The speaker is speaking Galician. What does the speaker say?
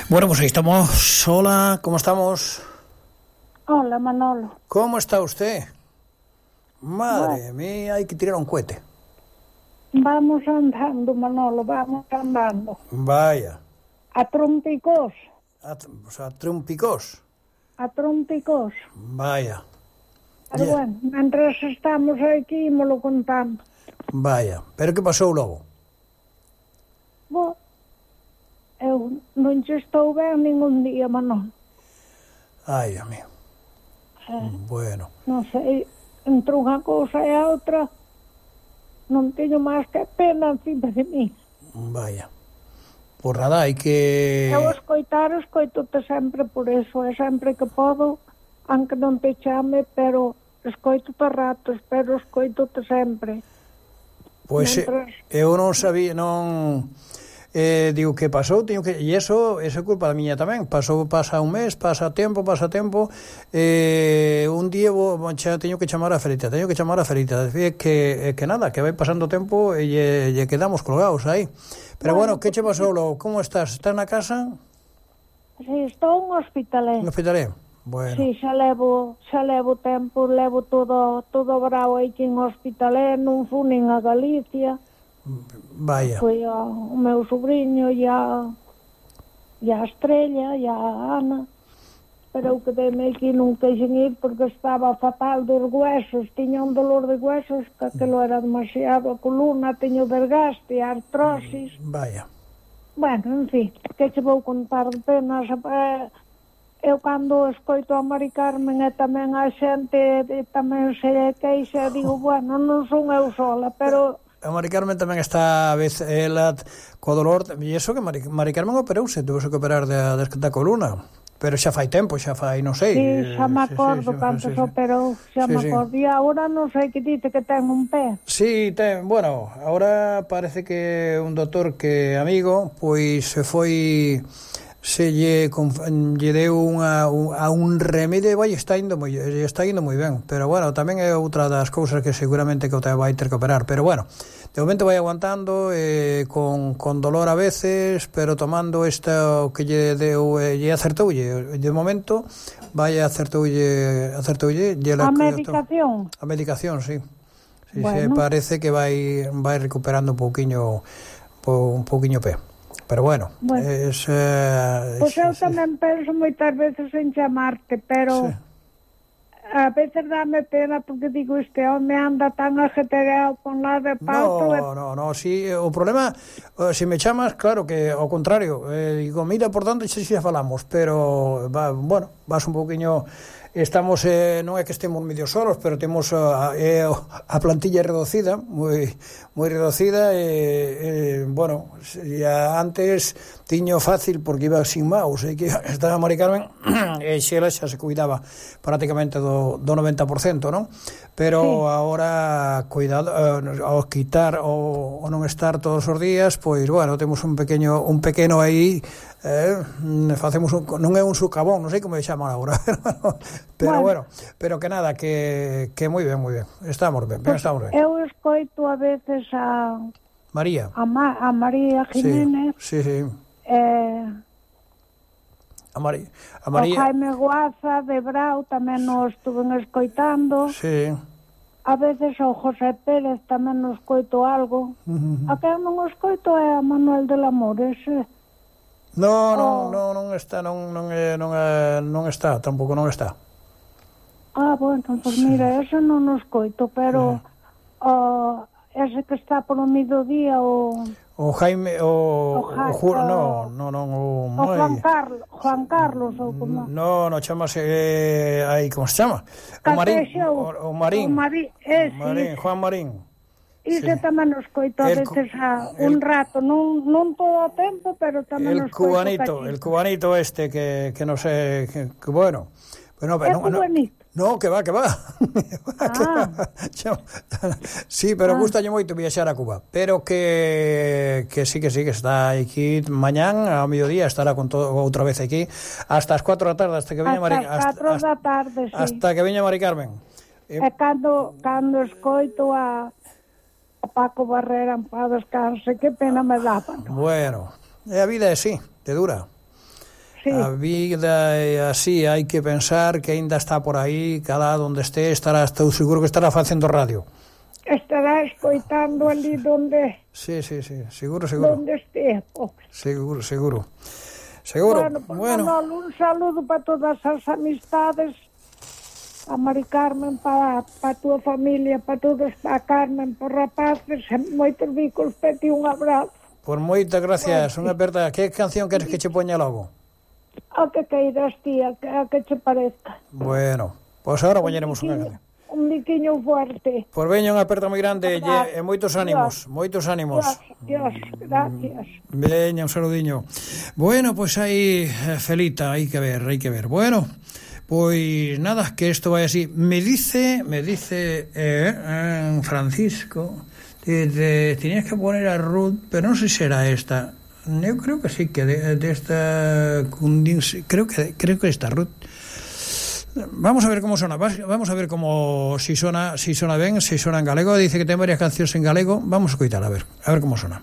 Bueno, pues ahí estamos. Hola, ¿cómo estamos? Hola, Manolo. ¿Cómo está usted? Madre mía, hay que tirar un cohete. Vamos andando, Manolo, vamos andando. Vaya. A trompicós. O sea, trompicós. A trompicós. Vaya. Pero bueno, mientras estamos aquí, me lo contando. Vaya. ¿Pero qué pasó logo? Bo, eu non che estou ben ningún día, Manolo. Ai, Dios mío. Bueno. Non sei, entre unha cousa e a outra, non teño máis que pena encima de mí. Vaya. Por nada, hai que... Eu escoitote sempre por eso, e sempre que podo, aunque non te chame, pero escoitote a ratos, pero escoitote sempre. Pois eu non sabía, non... digo, que pasou? E eso é culpa da miña tamén. Pasa un mes, pasa tempo, un día teño que chamar a Ferita, que nada, que vai pasando tempo e lle quedamos colgados aí. Pero bueno, que che pasou logo? Como estás? Estás na casa? Si, estou en hospitalé. En hospitalé? Bueno. Si, xa levo tempo, levo todo bravo aquí en hospitalé, non fui nin a Galicia. Vaya. Foi o meu sobrinho e a Estrella e a Ana, pero eu quedei aquí, non queixen ir porque estaba fatal dos huesos, tiña un dolor de huesos que aquilo era demasiado, a columna, teño desgaste, artrosis. Vaya. Bueno, en fin, que che vou contar de penas. Eu cando escoito a Mari Carmen e tamén a xente tamén se queixa, digo, bueno, non son eu sola, pero... A Mari Carmen tamén está a vez ela co dolor, e iso que Mari Carmen operouse, tuvo que operar da columna, pero xa fai tempo, xa fai, non sei. Sí, xa me acordo cando se operou, xa me acordo, e agora non sei que dite que ten un pé. Sí, bueno, agora parece que un doutor que é amigo, pois se foi... lle deu un remedio e vai, está indo moi ben, pero bueno, tamén é outra das cousas que seguramente que o te vai ter que operar, pero bueno, de momento vai aguantando con dolor a veces, pero tomando isto que lle deu, lle acertoulle, de momento vai acertoulle a medicación. A medicación, sí. Bueno. Parece que vai recuperando un pouquiño pé. Pero bueno, pois eu tamén penso moitas veces en chamarte, pero a veces dame pena porque digo, este home anda tan ajetreado con la de pauto. No, si o problema, se me chamas, claro que ao contrario, digo, mira, por tanto, xa falamos, pero bueno, vas un pouquiño... Estamos, non é que estemos medio solos, pero temos a plantilla reducida, moi reducida, bueno, antes tiño fácil porque iba sin mouse, que estaba Mari Carmen e xela xa se cuidaba prácticamente do 90%, non? Pero sí. Agora, cuidado, ao quitar ou non estar todos os días, pois, bueno, temos un pequeno aí, facemos non é un sucabón, non sei como chaman agora, pero bueno, pero que nada, que moi ben, estamos ben. Eu escoito a veces a María, a María Jiménez, sí. A María, o Jaime Guaza de Brau tamén nos estuven escoitando. Sí. A veces o José Pérez tamén nos escoito algo. A que non escoito é a Manuel del Amor, ese. Non está, tampouco non está. Bueno, pues mira, ese non nos escoito, pero ese que está por o mediodía, o Jaime, Juan Carlos, ou como? No, chamase, como se chama? O Marín. Juan Marín. Ese tamén nos coito a veces un rato, non todo o tempo, pero tamén nos coito. El cubanito este que non sei, que bueno. É cubanito. No, que va. Sí, pero gustalle moito viaxar a Cuba. Pero que sí, que está aquí mañán, ao mediodía, estará con todo outra vez aquí, hasta as 4 da tarde, hasta que veña Mari Carmen. Hasta que veña Mari Carmen. E cando escoito a Paco Barrera en paz descanse, que pena me daba. Bueno, a vida é así, te dura. Sí. A vida é así, hai que pensar que aínda está por aí, cada onde estou seguro que estará facendo radio. Estará escoitando ali donde... Sí, seguro. Donde esté, pobre. Seguro. Bueno, Manolo, un saludo para todas as amistades, a Mari Carmen, para a túa familia, para todos, para Carmen, para rapaces, moitos bicos, peti un abrazo. Por moitas gracias, unha aperta. Que canción queres que che poña logo? A que queiras, tía, a que che parezca. Bueno, pois agora poñeremos unha canción. Un biquiño fuerte. Por veña unha aperta moi grande e moitos ánimos, Dios, gracias. Veña, un saludiño. Bueno, pois aí, Felita, hai que ver. Bueno, pois nada, que isto vai así. Me dice Francisco, tenías que poner a Ruth, pero non sei se era esta. Eu creo que sí, que de esta creo que esta Ruth. Vamos a ver como sona, vamos a ver como si sona ben, si sona en galego. Dice que ten varias cancións en galego. Vamos a escoitar, a ver como sona.